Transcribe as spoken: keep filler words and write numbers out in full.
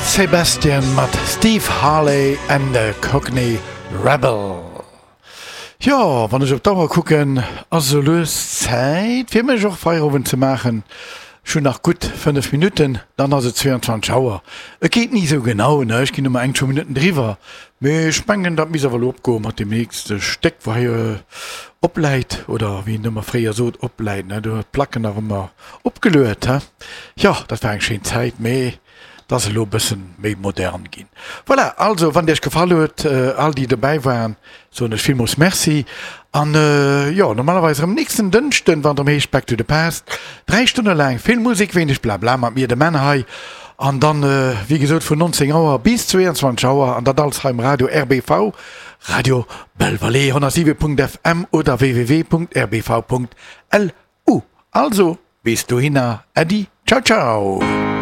Sebastian mat Steve Harley and the Cockney Rebel. Jo, wann ech op d'Auer kucken, ass esou lues Zäit fir mech och Feierowend ze maachen. Ech hunn nach gutt fënnef Minutten, dann ass et zweiundzwanzeg Auer. Et geet ni esou genau, ne, ech ginn ëmmer eng, zwou Minutten driwwer, mee ech mengen, dat misst awer elo opgoe mat deem nächste Stéck, wou hei opläit, oder wéi een ëmmer fréier sot, opläit, ne, do huet d'Placken nach ëmmer opgeluet, he. Jo, dat war eng schéin Zäit, mee et ass elo e bëssen méi modern ginn. Voilà, also wann et iech gefall huet, all déi dobäi waren, soen ech villmools Merci. An jo, normalerweis erëm nächsten Dënschden, wann et erëm heescht Back to the Past. Dräi Stonne laang vill Musek, wéineg Blabla mat mir, dem Menn hei. An dann, wéi gesot, vun nonzéng Auer bis zweeanzwanzeg Auer an dat alles hei um Radio R B V, Radio Belle-Vallée, honnertsiwe Punkt F M oder W W W Punkt R B V Punkt L U. Also, bis dohinner, Äddi, ciao ciao.